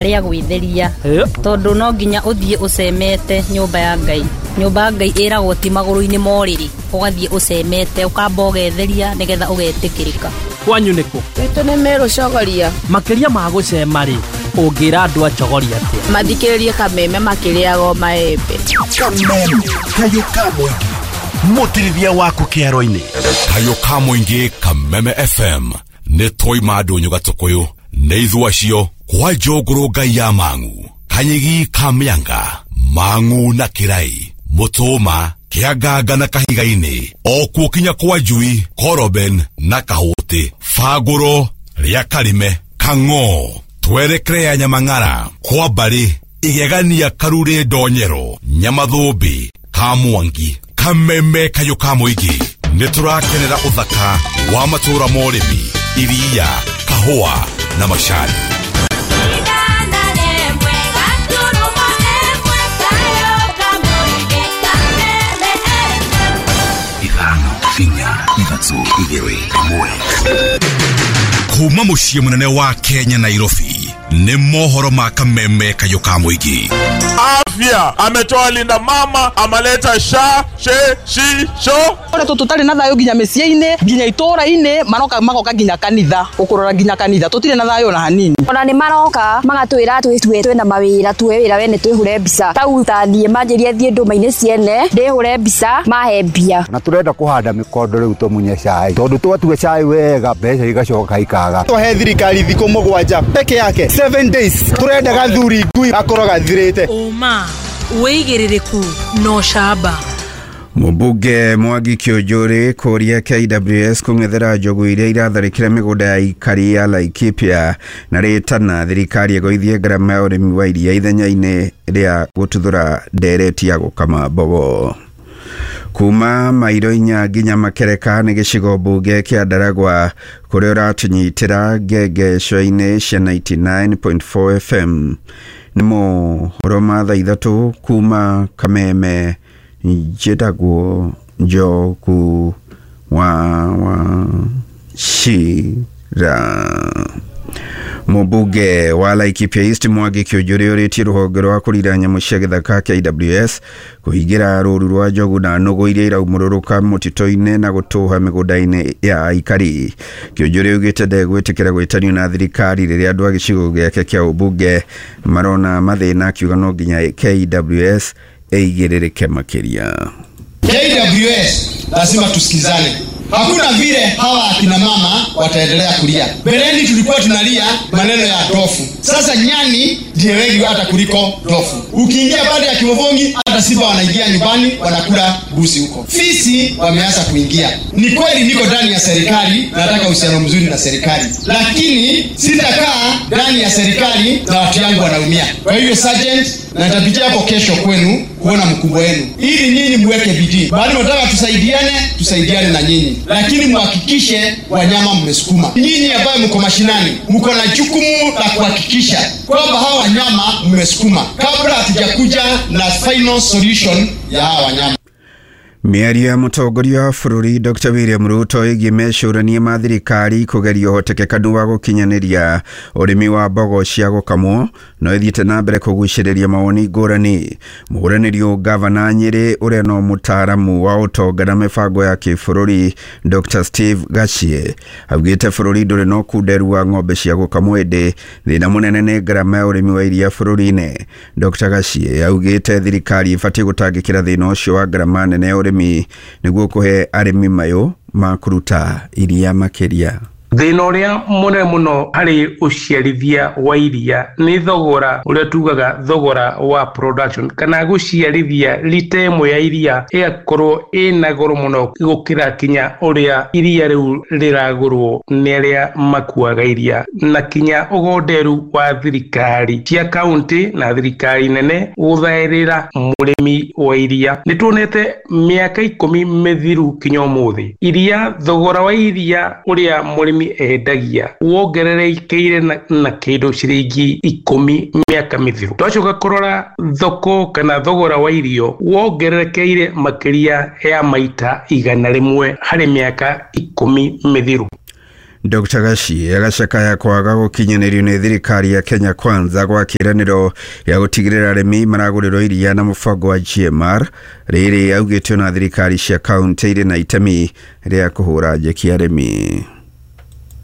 Rĩa gwĩtheria tondũ no nginya ũthiĩ ũcemete nyũmba ya Ngai. Nyũmba ya Ngai ĩragwo ti magũrũ-inĩ ma ũrĩrĩ, ũgathiĩ ũcemete ũkamba ũgetheria nĩgetha ũgetĩkĩrĩka. Kwanyu nĩkũ? Gwitũ nĩ Meru Chogoria. Makĩria ma gũcema rĩ, ũngĩra andũ a Chogoria atĩa? Mathikĩrĩrie Kameme makĩrĩaga maembe. Kameme kayũ ka mũingĩ, mũtirithia waku kĩaro-inĩ. Kayũ ka mũingĩ Kameme FM nĩ twaima ndũnyũ gatũkũyũ nĩ ithuĩ acio kwa njũngũrũ ngai ya mang'u kanyigi ka mĩanga mang'u na kĩrai mũtũma kĩanganga na kahiga-inĩ o kuo kinya kwa njui koroben na kahũtĩ bangũro rĩa karime kang'o twerekere ya nyamang'ara kwa mbarĩ igegania karurĩ ndonyero nyamathũmbĩ ka mwangi. Kameme kayũ ka mũingĩ nĩ tũrakenera ũthaka wa matũũra ma ũrĩmi, iria, kahũa na macani. 5 4 3 2 1. Kuma mũciĩ mũnene wa Kenya Nairobi nĩ mohoro ma Kameme kayũ ka mũingĩ. Afya ametoa Linda Mama, amaleta sha she shi sho. Ore tũtarĩ na thayũ nginya mĩciĩ-inĩ, nginya itũũra-inĩ, maroka magoka nginya kanitha, gũkũrora nginya kanitha, tũtirĩ na thayũ ona hanini. Ona nĩ maroka magatwĩra twĩtue twĩna mawĩra, tuoe wĩra wene twĩhure mbica. Tau ta thiĩ manjĩrie thiĩ ndũma-inĩ ciene, ndĩhure mbica, mahe mbia. Na tũrenda kũhanda mĩkondo rĩu tũmunye cai, tondũ twatua cai wega mbeca igacoka ikaga. Twahe thirikari thikũ 7 peke yake, 7 days, tũrenda gathuri ngui akorwo gathirĩte. Ũma wĩigĩrĩrĩku no camba. Mũmbunge Mwangi Kĩũnjũrĩ kũria KWS kũng'ethera njogu iria iratharĩkĩra mĩgũnda ya aikari ya Laikipia na rĩtana thirikari ĩgũithie ngarama ya ũrĩmi wa iria ithenya-inĩ rĩa gũtuthũra ndereti ya gũkama mbogo. Kuma mairo 4 nginya Makereka nĩ gĩcigo mbunge kĩa Ndaragwa kũrĩa ũratũnyitĩra ngengeco-inĩ cia 99.4 FM. Nĩ mohoro ma thaa 3 kuma Kameme. Njĩtagwo Njoku wa Wachira. Mũmbunge wa Laikipia East Mwangi Kĩũnjũrĩ ũrĩtie rũhonge rwa kũrira nyamũ cia gĩthaka KWS kũhingĩra rũru rwa njogu na nũgũ iria iraumũrũrũka mũtitũ-inĩ na gũtũha mĩgũnda-inĩ ya aikari. Kĩũnjũrĩ augĩte ndegwĩtĩkĩra gwĩtanio na thirikari rĩrĩa andũ a gĩcigo gĩake kĩa ũmbunge marona mathĩna, akiuga no nginya KWS ĩigĩrĩrĩke makĩria. KWS lazima tusikizane. Hakuna vile hawa akina mama wataendelea kulia. Mbeleni tulikuwa tunalia maneno ya ndofu. Sasa nyani ndiye wengi hata kuliko ndofu. Ukiingia baada ya Kivovongi hata simba wanaingia nyumbani wanakula mbuzi huko. Fisi wameanza kuingia. Ni kweli niko ndani ya serikali, nataka uhusiano mzuri na serikali. Lakini sitakaa ndani ya serikali na watu yangu wanaumia. Kwa hivyo sergeant, na nitapitia hapo kesho kwenu kuona mkubwa wenu ili nyinyi muweke bidii. Bado nataka tusaidiane, tusaidiane na nyinyi. Lakini muhakikishe wanyama mmesukuma. Nyinyi ambaye mko mashinani, mko na jukumu la kuhakikisha kwamba hawa wanyama mmesukuma kabla hatujakuja na final solution ya hawa wanyama. Mĩario ya mũtongoria wa bũrũri Dr. William Ruto ĩgiĩ mecũrania ma thirikari kũgeria ũhotekekanu wa gũkinyanĩria ũrĩmi wa mbogo cia gũkamwo no ĩthiĩte na mbere kũgucĩrĩria mawoni ngũrani. Mũhũranĩri gavana Nyĩrĩ ũrĩa no mũtaaramu wa ũtonga na mĩbango ya kĩbũrũri Dr. Steve Gachie augĩte bũrũri ndũrĩ na ũkunderu wa ng'ombe cia gũkamwo, ĩndĩ thĩna mũnene nĩ ngarama ya ũrĩmi wa iria bũrũri-inĩ. Dr. Gachie augĩte thirikari ĩbatiĩ gũtangĩkĩra thĩna ũcio wa ngarama nene ya ũrĩmi nĩguo kũhe arĩmi mayũ ma kũruta iria makĩria. Thĩna ũrĩa mũnene mũno harĩ ũciarithia wa iria nĩ thogora ũrĩa tugaga thogora wa production, kana gũciarithia lita ĩmwe ya iria ĩgakorwo ĩna goro mũno gũkĩra kinya ũrĩa iria rĩu rĩragũrwo nĩ arĩa makuaga iria, na kinya ũgonderu wa thirikari cia kaunti na thirikari nene gũthaĩrĩra mũrĩmi wa iria. Nĩ tuonete mĩaka 10 mĩthiru kinya ũmũthĩ iria, thogora wa iria ũrĩa mũrĩmi endagia wongererekeire na kĩndũ ciringi 10 mĩaka mĩthiru. Twacoka kũrora thoko kana thogora wa irio wongererekeire makĩria ya maita 100 harĩ mĩaka 10 mĩthiru. Dr Gaci agacakaya kwaga gũkinyanĩrio nĩ thirikari ya Kenya Kwanza gwa kĩĩranĩro gĩa gũtigĩrĩra arĩmi maragũrĩrwo iria na mũbango wa GMR. Rĩrĩ augĩte ona thirikari cia kaunti irĩ na itemi rĩa kũhũra njeki arĩmi.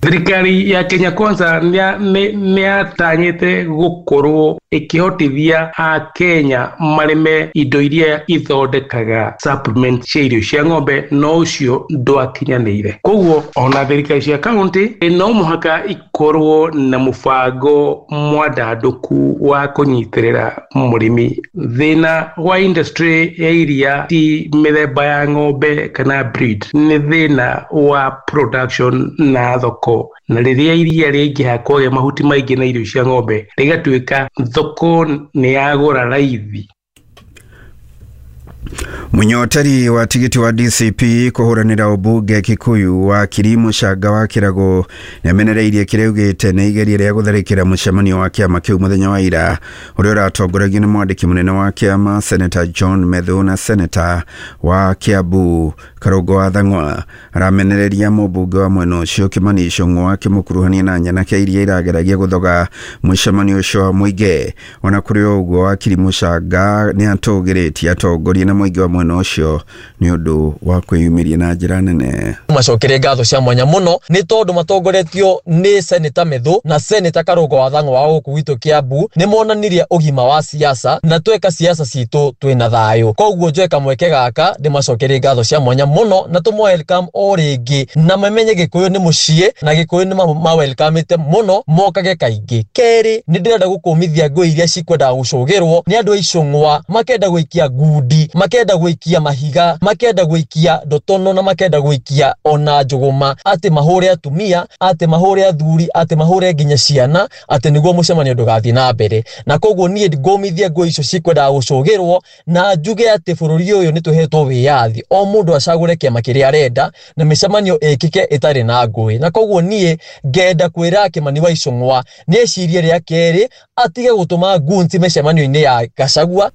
Thirikari ya Kenya Kwanza nĩ yatanyĩte gũkorwo ĩkĩhotithia Akenya marĩme indo iria ithondekaga supplement cia irio cia ng'ombe, no ũcio ndwakinyanĩire. Koguo ona thirikari cia kaunti no mũhaka ikorwo na mũbango mwandandũku wa kũnyitĩrĩra mũrĩmi. Thĩna wa industry ya iria ti mĩthemba ya ng'ombe kana breed, nĩ thĩna wa production na thoko. Na rĩrĩa iria rĩaingĩha kwagĩa mahuti maingĩ na irio cia ng'ombe, rĩgatuĩka thoko nĩ yagũra raithi. Munyoteri wa tigiti wa DCP kũhũranĩra ũmbunge Kikuyu wa Kirimu Canga wa Kĩrago nĩamenereirie kĩrĩa augĩte nĩ igeria rĩa gũtharĩkĩra mũcemanio wa kĩama kĩu mũthenya wa ira ũrĩa ũratongoragio nĩ mwandĩki mũnene wa kĩama Senator John Methu na Senator wa Kiambu Karũngo wa Thang'wa. Aramenereria mũmbunge wa mwena ũcio Kimani Ichung'wa akĩmũkuruhania na nyanake iria irageragia gũthoga mũcemanio ũcio wa mũingĩ. Ona kũrĩ o ũguo, Wakiri Mũchanga nĩatũgĩrĩtie atongoria na mũingĩ wa mwena ũcio nĩ ũndũ wa kwĩyumĩria na njĩra nene. Macokere ngatho cia mwanya mũno nĩ tondũ matongoretio nĩ Senator Methu na Senator Karũngo wa Thang'wa wa gũkũ gwitũ Kiambu nĩ monanirie ũgima wa siasa na tweka siasa citũ twĩna thayũ. Koguo njoe kamweke gaka ndĩmacokere ngatho cia mwanya mũno na tũmũ welcome o rĩngĩ na mamenye Gĩkũyũ nĩ mũciĩ na Gĩkũyũ nĩ ma welcome-ĩte mũno mokage kaingĩ. Kerĩ, nĩ ndĩrenda gũkũmithia ngũĩ iria cikwendaga gũcũgĩrwo nĩ andũ a Icũng'wa, makenda gũikia ngundi, makenda gũikia mahiga, makenda gũikia ndotono na makenda gũikia ona njũgũma, atĩ mahũre atumia, atĩ mahũre athuri, atĩ mahũre nginya ciana, atĩ nĩguo mũcemanio ndũgathiĩ na mbere. Na koguo niĩ ngũmithia ngũĩ icio cikwendaga gũcũgĩrwo na njuge atĩ bũrũri ũyũ nĩ tũhetwo wĩyathi, o mũndũ acagũre kĩama kĩrĩa arenda na mĩcemanio ĩkĩke ĩtarĩ na ngũĩ. Na koguo niĩ ngenda kwĩra Kĩmani wa Icũng'wa nĩ ecirie rĩa kerĩ atige gũtũma ngunti mĩcemanio-inĩ ya Gachagua.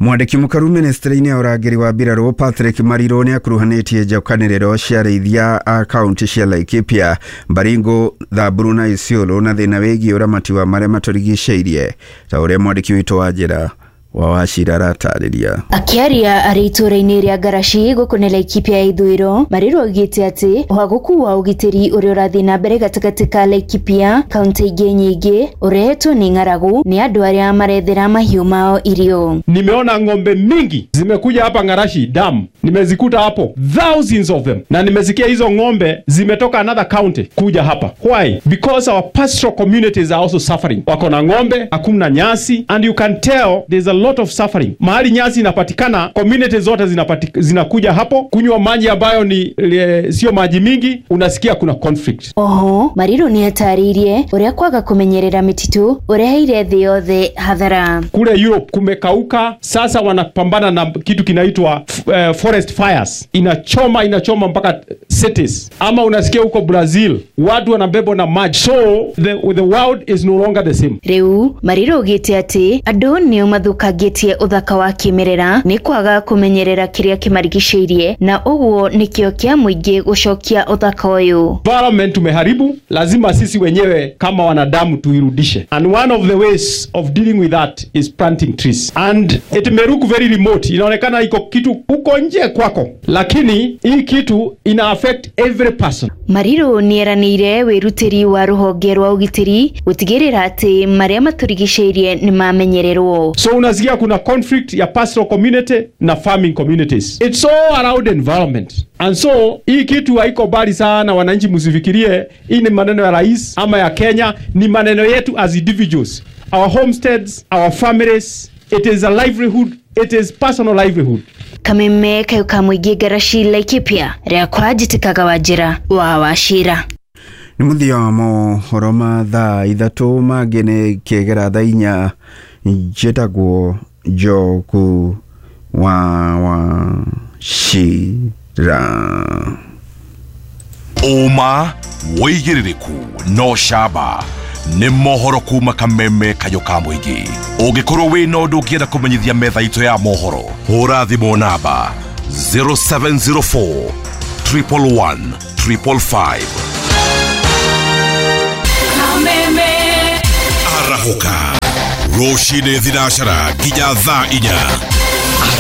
Mwandĩki mũkaru ministry-inĩ ya ũrangĩri wa mbirarũ Patrick Mariro nĩ akuruhanĩtie njokanĩrĩro cia arĩithia a kaunti cia Laikipia, Baringo, Thamburu na Isiolo na thĩna wĩgiĩ ũramati wa marĩa matũrigicĩirie, ta ũrĩa mwandĩki witũ wa njĩra wa Wachira aratarĩria. Akĩaria arĩ itũũra-inĩ rĩa Ngaraci gũkũ nĩ Laikipia ya ithũĩro, Mariro augĩte atĩ ũhagũku wa ũgitĩri ũrĩa ũrathiĩ na mbere gatagatĩ ka Laikipia kaunti ingĩ nyingĩ ũrehetwo nĩ ng'aragu nĩ andũ arĩa marethera mahiũ mao irio. Nimeona ng'ombe mingi zimekuja hapa Ngarashi dam, nimezikuta hapo thousands of them, na nimesikia hizo ng'ombe zimetoka another county kuja hapa. Why? Because our pastoral communities are also suffering. Wako na ng'ombe, hakuna nyasi, and you can tell there's a lot of suffering. Mahali nyasi inapatikana, community zote zinakuja hapo kunywa maji ambayo ni sio maji mingi, unasikia kuna conflict. Oho, Mariro ni atarĩirie ũrĩa kwaga kũmenyerera mĩtitũ ũreheire thĩ yothe hathara. Kule Europe kumekauka, sasa wanapambana na kitu kinaitwa forest fires. Inachoma mpaka cities. Ama unasikia huko Brazil watu wanabebwa na maji. So the world is no longer the same. Rĩu Mariro augĩte atĩ andũ nĩo mathũkangĩtie ũthaka wa kĩmerera nĩ kwaga kũmenyerera kĩrĩa kĩmarigicĩirie, na ũguo nĩkĩo kĩa mũingĩ gũcokia ũthaka ũyũ. Environment tumeharibu, lazima sisi wenyewe kama wanadamu tuirudishe. And one of the ways of dealing with that is planting trees. And it may look very remote, inaonekana iko kitu huko nje kwako, lakini hii kitu ina affect every person. Mariro nĩeranĩire wĩrutĩri wa rũhonge rwa ũgitĩri gũtigĩrĩra atĩ marĩa matũrigicĩirie nĩmamenyererwo. So unasikia kuna conflict ya pastoral community na farming communities. It's all around environment. And so hii kitu haiko mbali sana, wananchi msifikirie hii ni maneno ya rais ama ya Kenya, ni maneno yetu as individuals. Our homesteads, our families, it is a livelihood, it is personal livelihood. Kameme kayo ka mũingĩ Ngaraci Laikipia rĩakwa njĩtĩkaga Wanjĩra wa Wachira. Nĩ mũthia wa mohoro ma thaa 3 mangĩ nĩ kĩgera thaa 4. Njĩtagwo Njogu wa Wachira. Ũma wĩigĩrĩrĩku no camba nĩ mohoro kuma Kameme kayũ ka mũingĩ. Ũngĩkorwo wĩna ũndũ ũngĩenda kũmenyithia metha itũ ya mohoro, hũra thimũ namba 0704 111 555. Kwarahũka rũcinĩ thinacara nginya thaa 4.